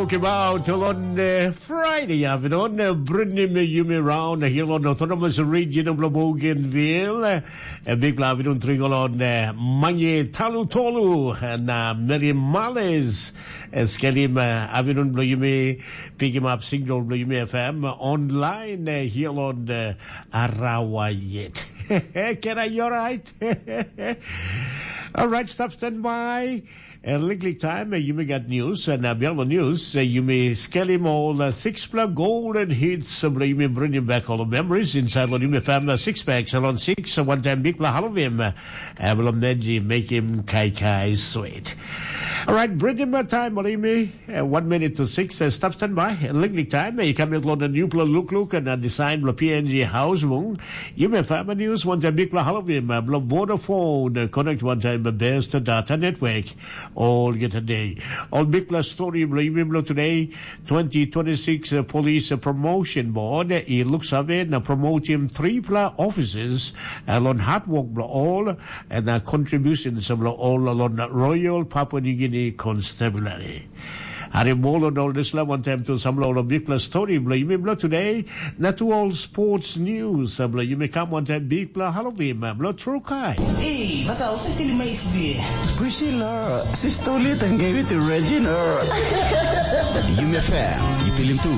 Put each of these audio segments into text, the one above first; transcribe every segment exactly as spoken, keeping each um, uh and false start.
Talk about on uh, Friday afternoon, uh, bringing me Yumi round here on Autonomous Region of Bougainville. Uh, big love on Tricolon, uh, Mange Talu Tolu, and uh, Mary Males. Uh, Skelim, uh, Avinun Bloyumi, pick him up, single Bloyumi F M, online uh, here on uh, Arawa yet. Can I, you all right? All right, stop standby. And liklik time, uh, you may get news. And uh, beyond the news, uh, you may scale him all uh, six plus golden hits. Uh, you may bring him back all the memories inside the Yumi family six packs. Along six, uh, one time big plus Halloween. Uh, Avalon Benji, make him kai kai sweet. All right, bring him a time, Olimi. Uh, one minute to six. Uh, stop standby. Liklik time. Uh, you come in on the new plus look look and uh, design plus P N G house mung. You may find my news one time big plus Halloween. Uh, Vodafone. Uh, connect one time the best data network. All get a day. All big plus story blo today. Twenty twenty-six uh, police uh, promotion board. Uh, it looks of it. Uh, promote him three plus officers. Uh, on hard work blo all. And uh, contributions blo all on Royal Papua New Guinea Constabulary. Hari molo nol disla one time to samlo lo big plus story blo yumi blo today. Na to all sports news blo yumi come one time big plus Halloween blo true kai. Ei, bata, o se stili mai sibie. Priscilla, sistoli tangei tu Regina. Yumi fair, you pilim tu.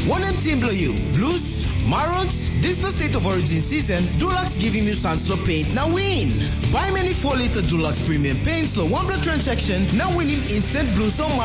One M team below you. Blues, Marons, this the state of origin season. Dulux giving you chance to paint now win. Buy many four liter Dulux premium paints lo one blood transaction now winning instant Blues or Marons.